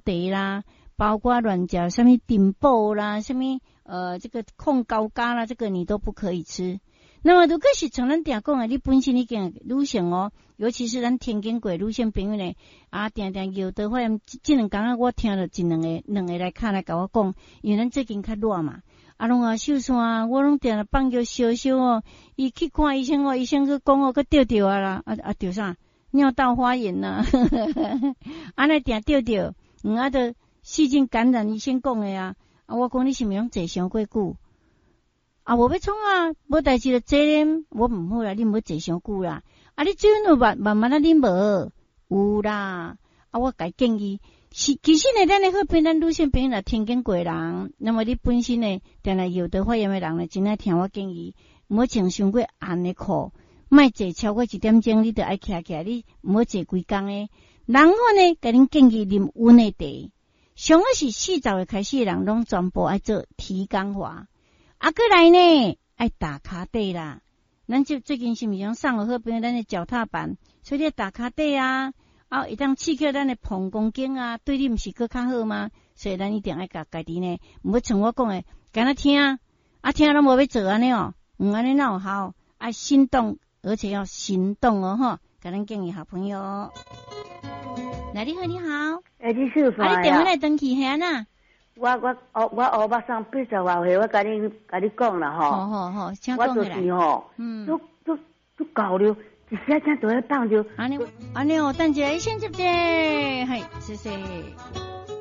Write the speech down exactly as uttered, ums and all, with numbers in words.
茶啦，包括亂食啥物珍寶啦，啥物呃這個控高咖啦，這個你都不可以吃。那麼如果是像咱定講的，你本身已經女性哦，尤其是咱聽經過女性朋友呢，啊，定定尿道發炎，這兩工仔我聽著一兩个兩个來敲來共我講，因為咱最近較熱嘛，啊，攏啊秀山，我攏定定放尿燒燒哦，伊去看醫生哦，醫生閣講哦，閣著著啊啦，啊啊著啥？尿道發炎呐，按呢定著著，嗯啊，著細菌感染，醫生講的啊，啊，我講你是毋是攏坐傷過久？啊，無欲創啊，無代誌就坐咧，我毋好啦，你毋好坐傷久啦。啊，你水分有慢慢慢仔啉無？有啦。啊，我共伊建議，是其實呢，咱的好朋咱女性朋友若聽經過人，那麼你本身呢，定定尿道發炎的人呢，真愛聽我建議，毋好穿傷過紅的褲，莫坐超過一點鐘，你著愛徛起來，你毋好坐規工的。然後呢，共恁建議啉溫的茶，上好是四十歲開始的人，攏全部愛做體感化。啊，閣來呢，愛踏跤底啦。咱就最近是毋是講送予好朋友咱的腳踏板，所以你踏跤底啊，啊，會當刺激咱的膀胱經啊，對你毋是閣較好嗎？所以咱一定愛共家己呢，毋好像我講的，干焦聽，啊聽攏無欲做按呢哦，毋按呢哪有效？愛心動，而且要行動哦，吼！共咱建議好朋友。來，你好，你好。欸，你秀啊，你電話來轉去遐哪？我我烏我烏目送八十外歲，我共你共你講啦吼。好好好，請我就是吼，嗯，都都都搞了，一時仔正就咧放著。按呢按呢哦，等一下，先接者，嘿，謝謝。